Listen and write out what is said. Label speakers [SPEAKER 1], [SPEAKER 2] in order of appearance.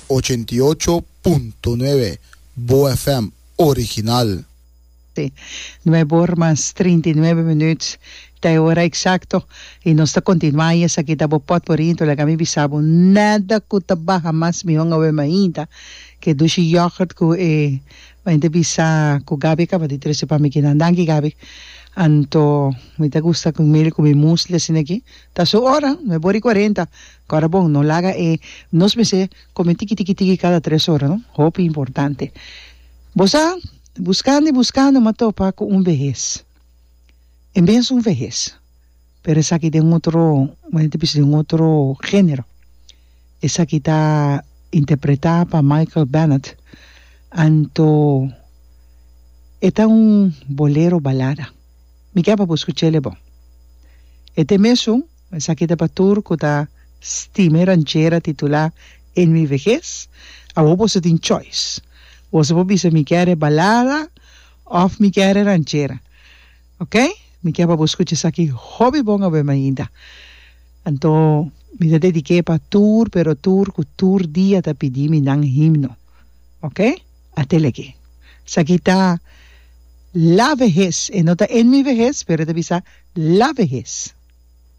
[SPEAKER 1] 88.9 Bo FM original.
[SPEAKER 2] Nuebe or mas 39 minuut ta e ora exacto y nos ta continua y esaki ta bo potpourri enton laga mi bisa bo nada cu ta baha mas mihon awe mainta ke dushi yoghurt cu e Mente bisa cu Gaby caba di trece pa mi kinan. Danki Gaby. Anto mi ta gusta cu mele cu mi musli asina aki. Ta su ora, nuebe ora y cuarenta. Cora bon, no laga e nos mester come tiki tiki tiki cada tres ora no. Hopi importante. Bo sa, buscando y buscando m'a topa cu un behes. En bes un vehes. Pero esaki den otro, mi ta bisa den otro genero. Esaki ta interpretá pa Michael Bennett, anto e ta un bolero balada. Mi ke pa bo skuch'el e bon. E te mesun, esaki ta pa tur ku ta stima e ranchera titulá En mi vejez. Awor boso tin choice. Boso por bisa mi kier e balada òf mi kier e ranchera. Ok, mi ke pa bo skucha esaki hopi bon awe mainta. Anto mi ta dedik'é pa tur pero tur ku tur dia ta pidi mi nan himno. Ok, atel aki. Esaki ta La Vejez, e no ta En Mi Vejez pero e ta bisa La Vejez.